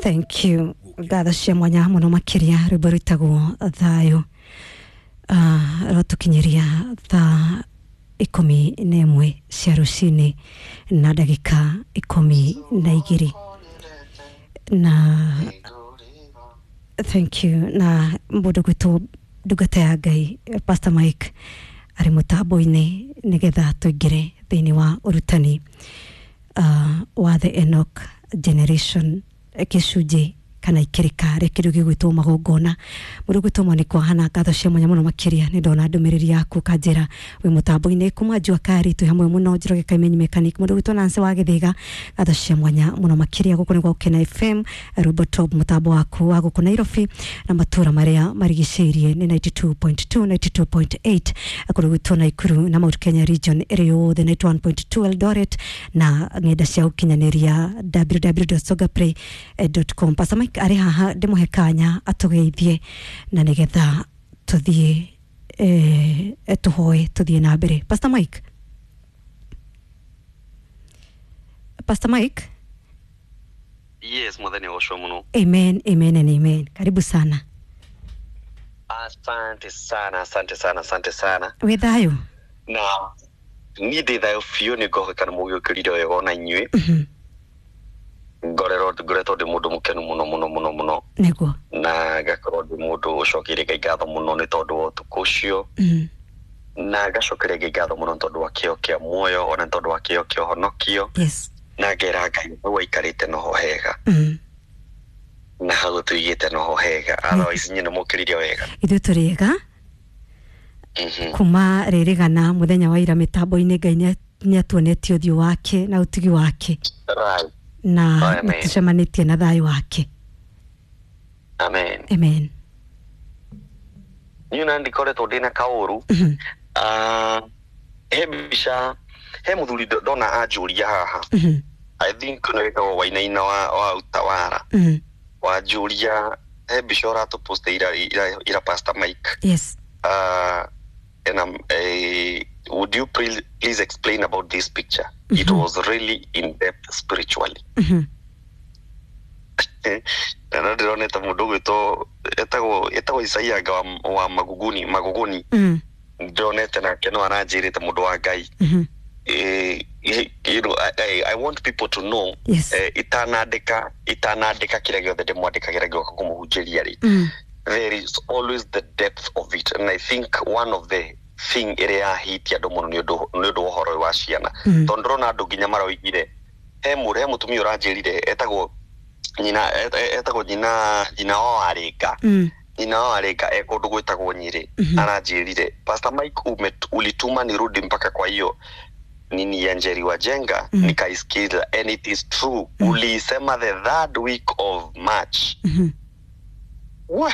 Thank you. Ngatho cia mwanya muno makiria rwimbo rwitagwo thayo rwatukinyiria thaa 11 cia rucini na ndagika 12 na thank you na mũndũ gwitũ ndungata ya Ngai Pastor Mike arĩ mũtambo-inĩ nĩgetha tũingĩre thĩinĩ wa ũrutani wa the Enoch generation gĩcunjĩ kana ikĩrĩka rĩa kĩndũ gĩgwĩtwo magongona. Mũndũ gwĩtwo Monica Wahana, ngatho cia mwanya mũno makĩria nĩ ndona ndũmĩrĩri yaku kanjĩra wĩ mũtambo-inĩ kuma Jua Kari twĩ hamwe mũno Njoroge Kaimenyi Mechanic. Mũndũ gwĩtwo Nancy wa Gĩthĩga, ngatho cia mwanya mũno makĩria gũkũ nĩ gwa Gũkena FM Rumbo Top, mũtambo waku wa gũkũ Nairobi na matũra marĩa marigicĩirie nĩ 92.2 92.8 kũndũ gwitũ Naikuru na Mount Kenya region ĩrĩ yothe 91.2 Eldoret na ng'enda cia ũkinyanĩria www.sogapray.com. Pastor Mike arĩ haha ndĩmũhe kanya atũgeithie na nĩgetha tũthiĩ tũhoe tũthiĩ na mbere. Pastor Mike, Pastor Mike. Yes, mwathani ũcio mũno. Amen, amen and amen. Karibu sana. Asante sana, asante sana, asante sana. Wĩ thayũ? Na niĩ ndĩ thayũ biũ nĩ ngoheka nĩ mũgĩũkĩrire wega ona inyuĩ. Ngorerwo ngoretwo ndĩ mũndũ mũkenu mũno mũno mũno mũno Nĩguo. na ngakorwo ndĩ mũndũ ũcokeire Ngai ngatho mũno nĩ tondũ wa ũtukũ ũcio na ngacokeria Ngai ngatho mũno nĩ tondũ wa kĩo kĩa muoyo ona nĩ tondũ wa kĩo kĩa ũhonokio Yes. na ngera Ngai hau aikarĩte noho hega na hau tũigĩte noho hega. Otherwise inyuĩ nĩ mũkĩrire wega. Ithuĩ tũrĩ ega kuma rĩrĩgana mũthenya wa ira mĩtambo-inĩ Ngai nĩ atuonetie ũthiũ wake na ũtugi wake Right. na Amen. nĩtũcemanĩtie na thayũ wake. Amen. Amen. Niĩ na ndikoretwo ndĩna kaũru. He mbica he mũthuri ndona anjũria haha. I think nĩ wĩtagwo Wainaina wa Utawara wanjũria he mbica ũratũpost ira Pastor Mike. Yes. And would you please explain about this picture? It was really in depth spiritually. Na no ndĩronete mũndũ ũgwĩtwo etagwo Isaia nga wa Maguguni Maguguni. Ndĩronete nake no aranjĩrĩte mũndũ wa Ngai. You know, I want people to know. Yes. Itanandĩka kĩrĩa gĩothe ndĩmwandĩkagĩra ngĩũka kũmũhunjĩria rĩ, there is always the depth of it, and I think one of the thing ĩrĩa yahitia andũ mũno nĩ ũndũ wa ũhoro ũyũ wa ciana. Tondũ ndĩrona andũ nginya maroigire he mũtumia ũranjĩrire etagwo nyina etagwo nyina nyina wa Warĩnga. Nyina wa Warĩnga e kũndũ gwĩtagwo Nyĩrĩ. Aranjĩrire, Pastor Mike, ulituma nirudi mpaka kwa hiyo nini ya Njeri Wajenga nikaisikiza and it is true. Uliisema the third week of March. We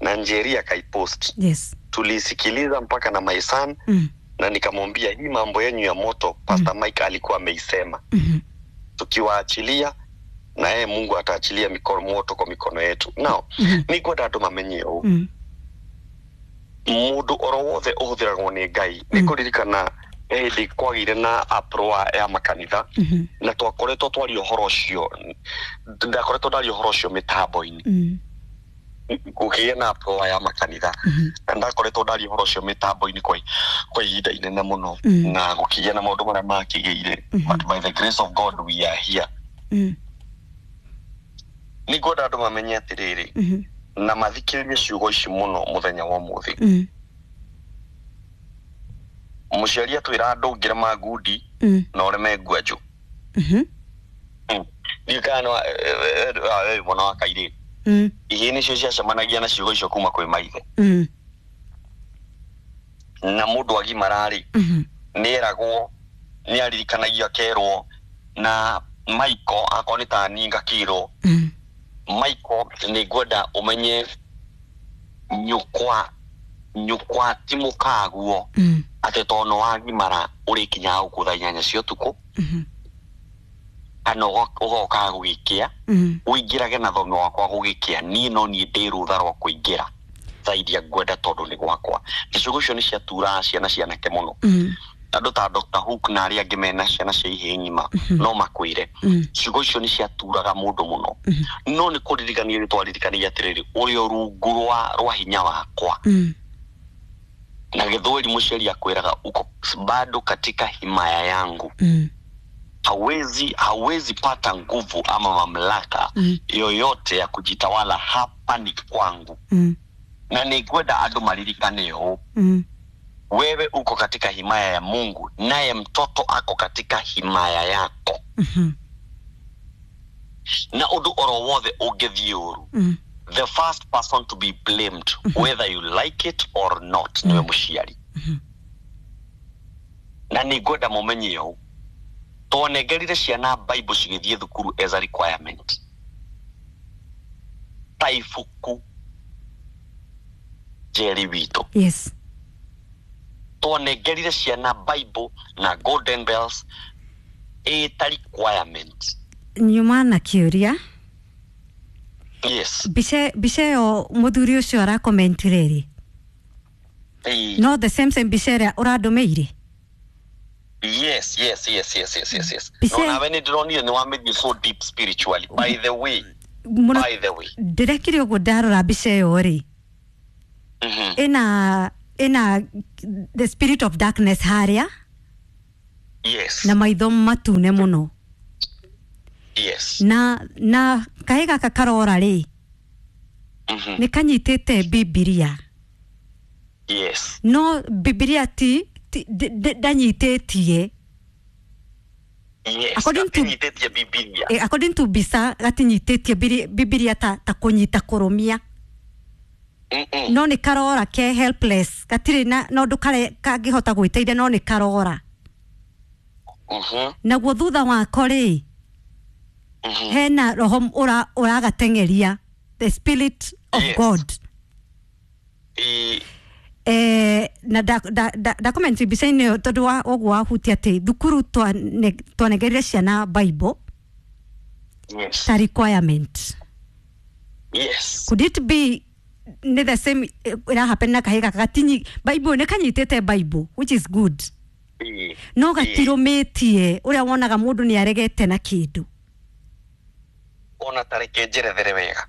na Njeri akaipost. Yes. Tulisikiliza mpaka na my son na nikamwambia hii mambo yenyu ya moto Pastor Mike alikuwa ameisema. Tukiwaachilia na yeye Mungu ataachilia mikono moto kwa mikono yetu. Now nĩngwenda andũ mamenye ũũ. Mũndũ oro wothe ũhũthĩragwo nĩ Ngai nĩ kũririkana hĩndĩ kwagĩire na uproar ya makanitha na twakoretwo twaria ũhoro ũcio, ndakoretwo ndaria ũhoro ũcio mĩtambo-inĩ. Gũkĩgĩa na uproar ya makanitha na ndakoretwo ndaria ũhoro ũcio mĩtambo-inĩ kwa ihinda inene mũno na gũkĩgĩa na maũndũ marĩa makĩgĩire, but by the grace of God we are here. Nĩngwenda andũ mamenye atĩrĩrĩ na mathikĩrĩrie ciugo ici mũno mũthenya wa ũmũthĩ. Mũciari atwĩra andũ ũngĩrema ngundi na ũreme ngwanjũ. Ndiũĩ kana mwana wa kairĩtu ihĩĩ nĩcio ciacemanagia na ciugo icio kuma kwĩ maithe. Na mũndũ agimara rĩ nĩeragwo nĩaririkanagio akerwo na Michael akorwo nĩ ta niĩ ngakĩrwo Michael nĩngwenda ũmenye nyũkwa ti mũkaguo atĩ tondũ nĩwagimara ũrĩkinyaga gũkũ thaa 8 cia ũtukũ kana ũgokaga gũgĩkĩa ũingĩrage na thome wakwa gũgĩkĩa niĩ no niĩ ndĩ rũtha rwa kũingĩra thaa iria ngwenda tondũ nĩ gwakwa. Na ciugo icio nĩ ciaturaga ciana cianake mũno. Andũ ta Dr. Hook na arĩa angĩ mena ciana cia ihĩĩ ng'ima no makwĩre ciugo icio nĩ ciaturaga mũndũ mũno, no nĩ kũririkania nĩ twaririkanagia atĩrĩrĩ, ũrĩ o rungu rwa hinya wakwa. Na gĩthweri mũciari akwĩraga uko bado katika himaya yangu. Hawezi pata nguvu ama mamlaka yoyote ya kujitawala, hapa ni kwangu. Na nĩngwenda andũ maririkane ũũ, wewe uko katika himaya ya Mungu, naye mtoto ako katika himaya yako. Na ũndũ oro wothe ũngĩthiĩ ũru, the first person to be blamed, whether you like it or not, niwe mũciari. Na nĩngwenda mũmenye ũũ, twanengerire ciana Bible cigĩthiĩ thukuru as a requirement, ta ibuku Njeri witũ. Twanengerire ciana Bible na golden bells ĩta requirement. Nyuma na kĩũria. Yes. Mbica ĩyo mũthuri ũcio arakomentire rĩ, no the same mbica ĩrĩa ũrandũmĩire? Yes. Mbica No, nawe nĩ ndĩronire nĩ wamĩthiĩ so deep spiritually, by the way. Mũno. By the way. Ndĩrekire ũguo ndarora mbica ĩyo rĩ, ĩna the spirit of darkness harĩa na maitho matune mũno. Na kahĩ gaka karora rĩ, nĩ kanyitĩte Bibilia. No Bibilia ti ndanyitĩtie. Gatinyitĩtie Bibilia. According to mbica gatinyitĩtie Bibilia ta kũnyita kũrũmia. No nĩ karora ke helpless, gatirĩ na ũndũ kangĩhota gwĩteithia, no nĩ karora. Naguo thutha wako rĩ, hena roho ũragateng'eria, the spirit of God. Na ndakomenti mbica-inĩ ĩyo tondũ wa ũguo wahutia atĩ thukuru twanengerire ciana Bible ta requirement. Could it be nĩ the same ĩrahappen na kahĩ gaka? Gatinyi Bible, nĩ kanyitĩte Bible, which is good, no gatirũmĩtie ũrĩa wonaga mũndũ nĩ aregete na kĩndũ. Ona ta reke njerethere wega.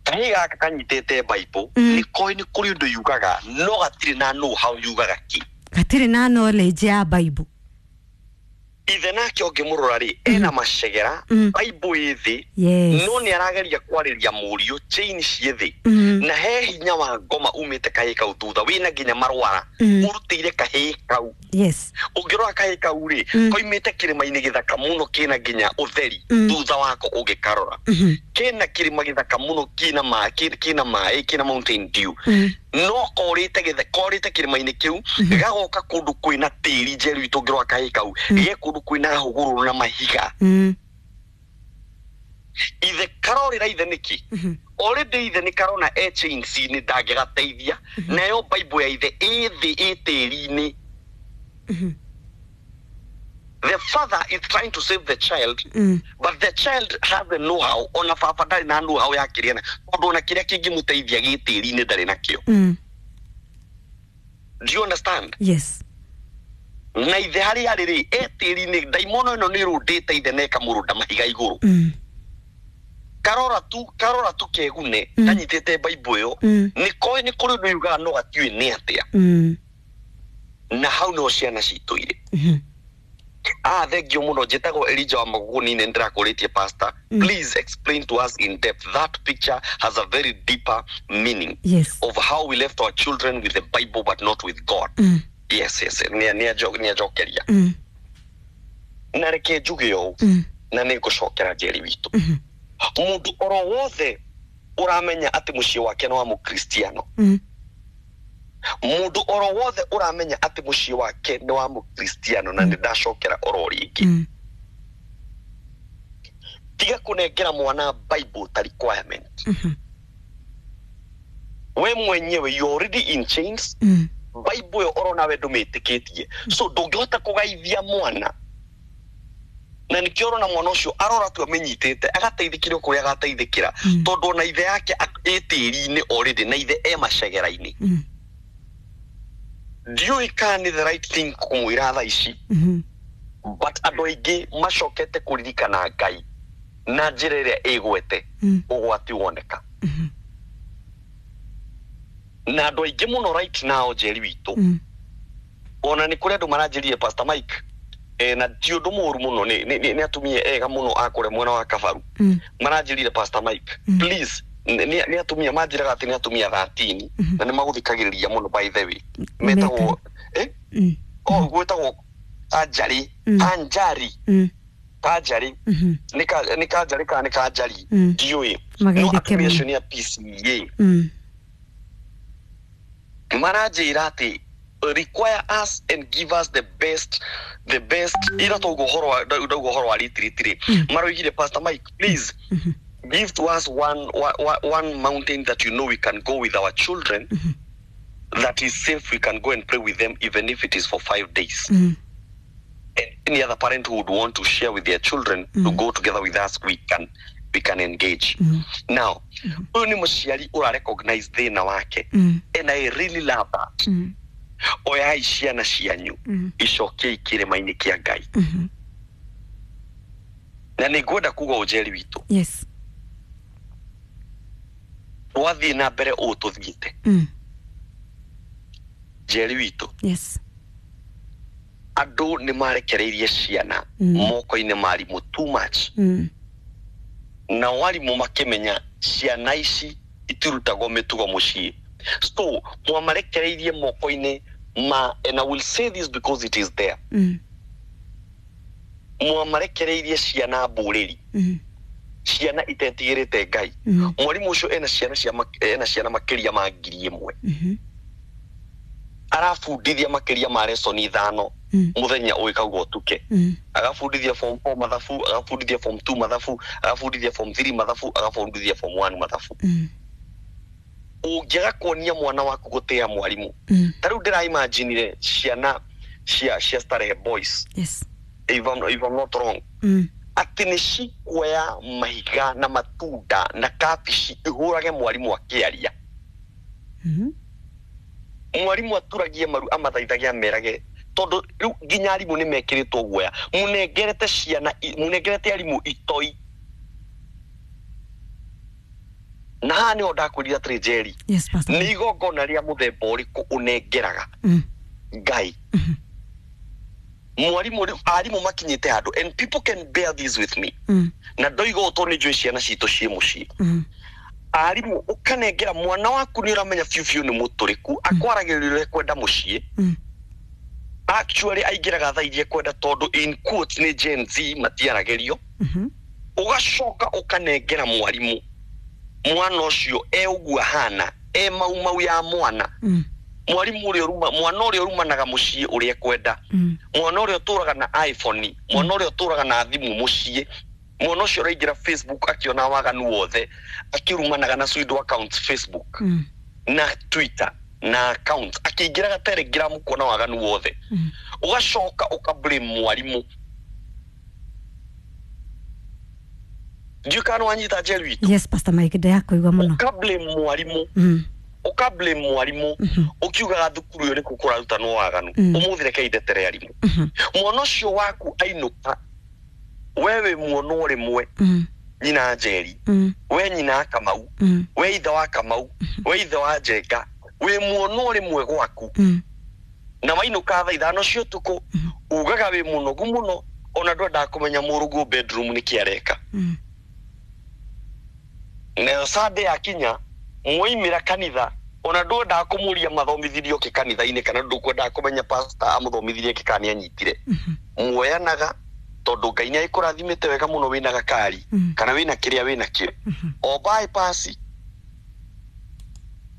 Kahĩ gaka kanyitĩte Bible, nĩ koĩ nĩ kũrĩ ũndũ yugaga, no gatirĩ na know how yugaga kĩ. Gatirĩ na knowledge ya Bible. Ithe nake ũngĩmũrora rĩ, ena macegera, Bible ĩ thĩ, no nĩ arageria kwarĩria mũriũ, chain ciĩ thĩ. Na he hinya wa ngoma umĩte kahĩ kau thutha, wĩna nginya marwara, ũrutĩire kahĩ kau. Ũngĩrora kahĩ kau rĩ, koimĩte kĩrĩma-inĩ gĩthaka mũno kĩna nginya ũtheri, thutha wako ũngĩkarora. Kĩna kĩrĩma gĩthaka mũno kĩna kĩna maĩ, kĩna Mountain Dew. No korĩte kĩrĩma-inĩ kĩu, gagoka kũndũ kwĩna tĩri njeru itũ ũngĩrora kahĩ kau, ge kũndũ kwĩna hũgũrũrũ na mahiga. Ithe karorĩra ithe nĩkĩ? Already ithe nĩ karona e chains-inĩ ndangĩgateithia, nayo Bible ya ithe ĩ thĩ ĩ tĩri-inĩ. The father is trying to save the child, but the child has the know-how. Ona baba ndarĩ na know-how ya kĩrĩa na tondũ ona kĩrĩa kĩngĩmũteithia gĩ tĩri-inĩ ndarĩ nakĩo. Do you understand? Yes. Na ithe harĩa arĩ rĩ, e tĩri-inĩ, ndaimono ĩno nĩ ĩrũndĩte ithe na ĩkamũrũnda mahiga igũrũ. Karora tu kegune, kanyitĩte Bible ĩyo, nĩ koĩ nĩ kũrĩ ũndũ yugaga no gatiũĩ nĩ atĩa. Na hau nĩho ciana citũ irĩ. Thank you mũno. Njĩtagwo Elijah wa Magũgũni, nĩ ndĩrakũrĩtie pastor. Please explain to us in depth. That picture has a very deeper meaning of how we left our children with the Bible but not with God. Yes. Nĩ anjokeria. Na reke njuge ũũ, na nĩ ngũcokera Njeri witũ. Mũndũ oro wothe ũramenya atĩ mũciĩ wake nĩ wa mũkristiano, mũndũ oro wothe ũramenya atĩ mũciĩ wake nĩ wa mũkristiano, na nĩ ndacokera oro rĩngĩ, tiga kũnengera mwana Bible ta requirement. We mwenyewe you already in chains. Bible ĩyo oro nawe ndũmĩtĩkĩtie, so ndũngĩhota kũgaithia mwana, na nĩkĩo ũrona mwana ũcio arora tu amenyitĩte agateithĩkĩra o kũrĩa agateithĩkĩra, tondũ ona ithe yake ĩ tĩri-inĩ already, na ithe e macegera-inĩ. Ndiũĩ kana nĩ the right thing kũmwĩra thaa ici, but andũ aingĩ macokete kũririkana Ngai na njĩra ĩrĩa ĩgwete ũgwati woneka. Na andũ aingĩ mũno right now, Njeri witũ, ona nĩ kũrĩ andũ maranjĩrire, "Pastor Mike," na ti ũndũ mũũru mũno, nĩ atumia ega mũno a kũrĩa mwena wa Kabaru maranjĩrire, "Pastor Mike, please." Nĩ atumia manjĩraga atĩ nĩ atumia 13 na nĩ magũthikagĩrĩria mũno, by the way. Metagwo oh, gwĩtagwo Kanjari. Kanjari. Kanjari. Nĩ Kanjari kana nĩ Kanjari, ndiũĩ, no Mageithĩke atumia mũno. acio nĩ a PCEA. Maranjĩra atĩ require us and give us the best ira tauga ũhoro wa ndauga ũhoro wa retreat rĩ, maroigire, "Pastor Mike, please give to us one mountain that you know we can go with our children, that is safe, we can go and pray with them even if it is for 5 days, and any other parent who would want to share with their children to go together with us, we can engage." Now ũyũ nĩ mũciari ũra recognize thĩna wake, and I really love that. Oyai ciana cianyu, icokiei kĩrĩma-inĩ kĩa Ngai. Na nĩ ngwenda kuga, ũnjeri witũ, twathiĩ na mbere ũũ tũthiĩte, Njeri witũ, andũ nĩ marekereirie ciana moko-inĩ ma arimũ too much, nao arimũ makĩmenya ciana ici itirutagwo mĩtugo mũciĩ, so mwamarekereirie moko-inĩ ma, and I will say this because it is there, mwamarekereirie ciana mbũrĩri, ciana itetigĩrĩte Ngai. Mwarimũ ũcio ena ciana cia ena ciana makĩria ma 1,000, arabundithia makĩria ma lesson 5 mũthenya ũgĩkauga ũtuke. Agabundithia form 4 mathabu, agabundithia form 2 mathabu, agabundithia form 3 mathabu, agabundithia form 1 mathabu. Ũngĩaga kuonia mwana waku gũtĩa mwarimũ, ta rĩu ndĩraimaginire ciana cia Starehe Boys, if I'm not wrong, atĩ nĩ cikuoya mahiga na matunda na kabici ihũrage mwarimũ akĩaria. Mwarimũ aturagie maru, amathaithage, amerage, tondũ rĩu nginya arimũ nĩ mekĩrĩtwo guoya. Mũnengerete ciana mũnengerete arimũ itoi. Na haha nĩho ndakwĩrire atĩrĩ, Njeri, Yes, Pastor. nĩ igongona rĩa mũthemba ũrĩkũ ũnengeraga Ngai? Mwarimũ rĩu, arimũ makinyĩte handũ, and people can bear this with me, na ndoiga ũũ tondũ nĩ njũĩ ciana citũ ciĩ mũciĩ. Arimũ, ũkanengera mwana waku, nĩ ũramenya biũ biũ nĩ mũtũrĩku, akwaragĩrĩria ũrĩa kwenda mũciĩ. Actually aingĩraga thaa iria kwenda, tondũ in quotes nĩ Gen Z, matiaragĩrio. Ũgacoka ũkanengera mwarimũ mwana ũcio e ũguo ahana, e mau mau ya mwana. Mwarimũ ũrĩa ũruma mwana ũrĩa ũrumanaga mũciĩ ũrĩa ekwenda, mwana ũrĩa ũtũraga na iPhone, mwana ũrĩa ũtũraga na thimũ mũciĩ, mwana ũcio ũraingĩra Facebook akĩona waganu wothe, akĩrumanaga na pseudo accounts Facebook na Twitter na account, akĩingĩraga Telegram kuona waganu wothe. Ũgacoka ũka blame mwarimũ. Ndiũĩ kana nĩwanyita, Njeri witũ. Yes, Pastor Mike, ndĩrakũigua mũno. Ũka blame mwarimũ. Ũka blame mwarimũ ũkiugaga thukuru ĩyo nĩkuo kũrarutanwo waganu. Ũmũthĩ reke indetere arimũ. Mwana ũcio waku ainũka, we wĩ muono rĩmwe, nyina Njeri, we nyina wa Kamau, we ithe wa Kamau, we ithe wa Njenga, wĩ muono rĩmwe gwaku, na wainũka thaa 5 cia ũtukũ, ugaga wĩ mũnogu mũno, ona ndwendaga kũmenya mũrũguo bedroom nĩkĩ areka. Nayo Sunday yakinya, mwaimĩra kanitha, ona ndwendaga kũmũria mathomithirio kĩ kanitha-inĩ, kana ndũkwendaga kũmenya pastor amũthomithirie kĩ kana nĩanyitire. Muoyanaga tondũ Ngai nĩ agĩkũrathimĩte wega mũno, wĩna gakari kana wĩna kĩrĩa wĩna kĩo, o bypass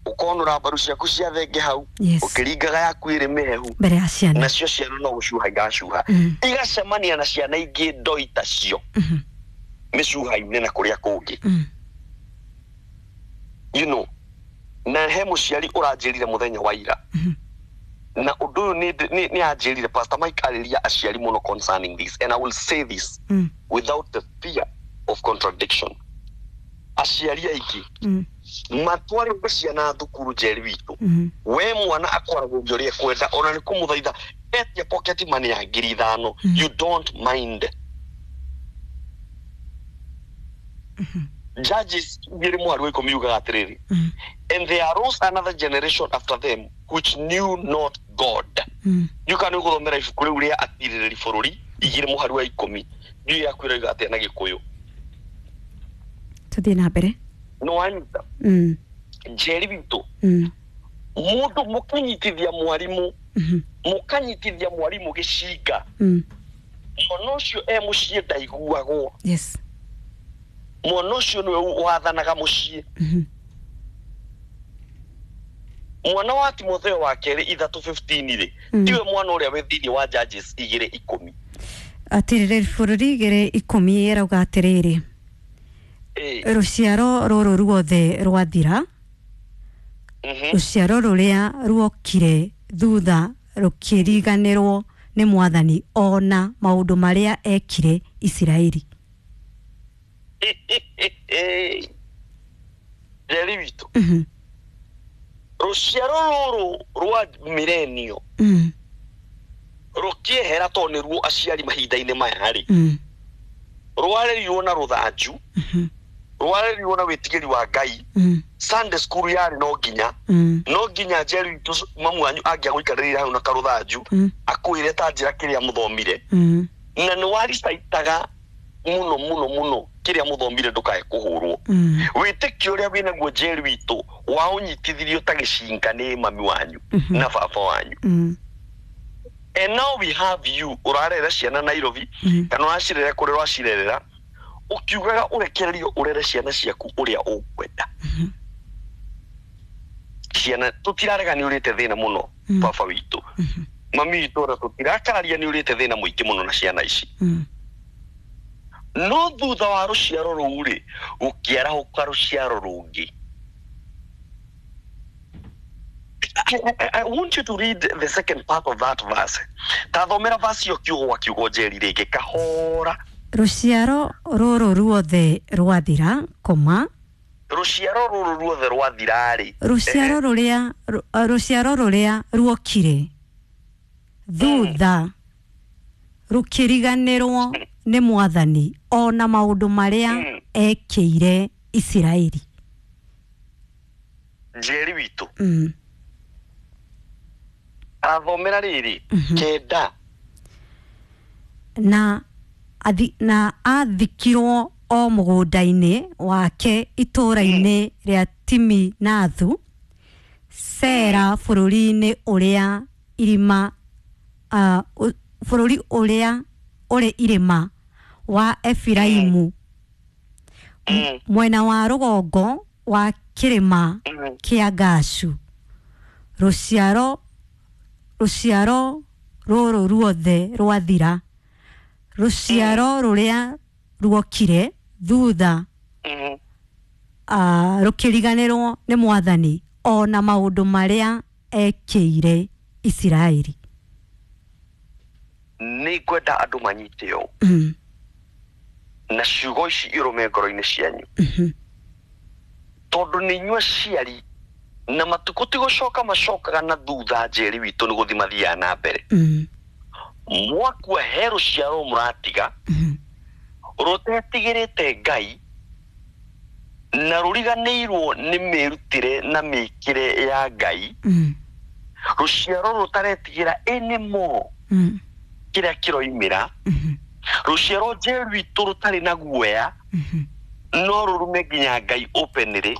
ũkonũra mbaru ciaku cia thenge hau, ũkĩringaga yaku ĩrĩ mĩhehu mbere ya ciana. Nacio ciana no gũcuha igacuha, igacemania na ciana ingĩ ndoi tacio mĩcuha-inĩ na kũrĩa kũngĩ. Na he mũciari ũranjĩrire mũthenya wa ira, na ũndũ ũyũ nĩ anjĩrire, "Pastor Mike, arĩria aciari mũno concerning this," and I will say this without the fear of contradiction. Aciari aingĩ matwarĩte ciana thukuru, Njeri witũ, we mwana akwaragĩria ũrĩa ekwenda, ona nĩ kũmũthaitha etia pocket money ya 5,000, you don't mind. Judges 2:10 yugaga atĩrĩrĩ, "And there arose another generation after them which knew not God." Ndiũka nĩ gũthomera ibuku rĩu rĩa Atirĩrĩri Bũrũri 2:10. Ndiũĩ yaku ĩroiga atĩa na Gĩkũyũ. Tuthiĩ na mbere. Nĩ wanyita? Njeri witũ, mũndũ mũkanyitithia mwarimũ, mũkanyitithia mwarimũ gĩcinga, mwana ũcio e mũciĩ ndaiguagwo. Mwana ũcio nĩwe wathanaga mũciĩ. Mwana wa Timotheo wa kerĩ 3:15 rĩ, tiwe mwana ũrĩa wĩ thĩinĩ wa Judges 2:10? Atirĩrĩri Bũrũri 2:10 ĩrauga atĩrĩrĩ, rũciaro rũrũ ruothe rwathira, rũciaro rũrĩa ruokire thutha rũkĩriganĩrwo nĩ Mwathani ona maũndũ marĩa ekire Isiraeli. Njeri witũ, rũciaro rũrũ rwa mirenio rũkĩehera, tondũ nĩruo aciari mahinda-inĩ maya rĩ, rwarerirwo na rũthanju, rwarerirwo na wĩtigĩri wa Ngai. Sunday school yarĩ no nginya, no nginya, Njeri witũ, mamu wanyu angĩagũikarĩrĩra hau na karũthanju, akwĩre ta njĩra kĩrĩa mũthomire, na nĩ waricaitaga mũno mũno mũno kĩrĩa mũthomire ndũkae kũhũrwo. Wĩtĩkio ũrĩa wĩnaguo, Njeri witũ, waũnyitithirio ta gĩcinga nĩ mami wanyu na baba wanyu. And now we have you ũrarera ciana Nairobi, kana ũracirera kũrĩa ũracirerera, ũkiugaga ũrekererio ũrere ciana ciaku ũrĩa ũkwenda. Ciana tũtirarega nĩ ũrĩte thĩna mũno, baba witũ, mami witũ, ona tũtirakararia nĩ ũrĩte thĩna mũingĩ mũno na ciana ici. No thutha wa rũciaro rũu rĩ, gũkĩarahũka rũciaro rũngĩ. I want you to read the second part of that verse. Ta thomera verse ĩyo kiugo gwa kiugo, Njeri, rĩngĩ kahora. Rũciaro rũrũ ruothe rwathira koma. Rũciaro rũrũ ruothe rwathira-rĩ. Rũciaro rũrĩa ruokire thutha rũkĩriganĩrwo nĩ Mwathani ona maũndũ marĩa ekĩire Isiraeli. Njeri witũ, athomera rĩrĩ 9. Na athikirwo o mũgũnda-inĩ wake itũũra-inĩ rĩa Timinathu Sera, bũrũri-inĩ ũrĩa irima, bũrũri ũrĩa ũrĩ irĩma wa Efiraimu, mwena wa rũgongo wa kĩrĩma kĩa Gashu. Rũciaro rũrũ ruothe rwathira, rũciaro rũrĩa ruokire thutha rũkĩriganĩrwo nĩ Mwathani ona maũndũ marĩa ekĩire Isiraeli. Nĩ ngwenda andũ manyite ũũ, na ciugo ici irũme ngoro-inĩ cianyu, tondũ nĩ inyuĩ aciari, na matukũ ti gũcoka macokaga na thutha, Njeri witũ, nĩ gũthiĩ mathiaga na mbere. Mwakua he rũciaro mũratiga rũtetigĩrĩte Ngai na rũriganĩirwo nĩ mĩrutĩre na mĩkĩre ya Ngai, rũciaro rũtaretigĩra anymore kĩrĩa kĩroimĩra, rũciaro, Njeri witũ, rũtarĩ na guoya, no rũrume nginya Ngai openly,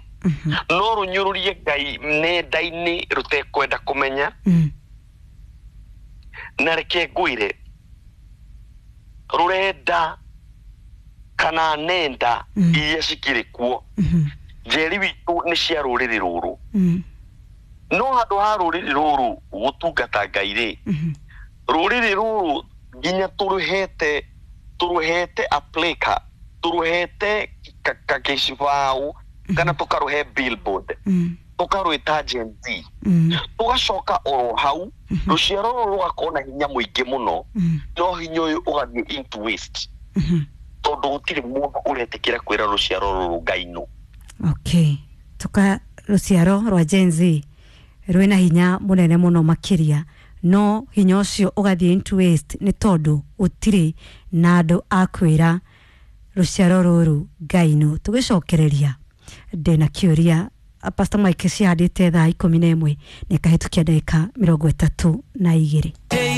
no rũnyũrũrie Ngai nenda-inĩ rũtekwenda kũmenya. Na reke ngwĩre, rũrenda kana nenda iria cikĩrĩ kuo, Njeri witũ, nĩ cia rũrĩrĩ rũrũ. No handũ ha rũrĩrĩ rũrũ gũtungata Ngai rĩ, rũrĩrĩ rũrũ nginya tũrũhete a placard, tũrũhete gĩcibaũ, kana tũkarũhe billboard, tũkarwĩta Gen Z. Tũgacoka oro hau rũciaro rũrũ rũgakorwo na hinya mũingĩ mũno, no hinya ũyũ ũgathiĩ into waste, tondũ gũtirĩ mũndũ ũretĩkĩra kwĩra rũciaro rũrũ Ngai nũ. Okay, tuka rũciaro rwa Gen Z rwĩna hinya mũnene mũno makĩria, no hinya ũcio ũgathiĩ into waste nĩ tondũ gũtirĩ na andũ a kwĩra rũciaro rũrũ Ngai nũ. Tũgĩcokereria ndĩna kĩũria Pastor Mike cihandĩte thaa 11 nĩ kahĩtũkia ndagĩka 32. Hey.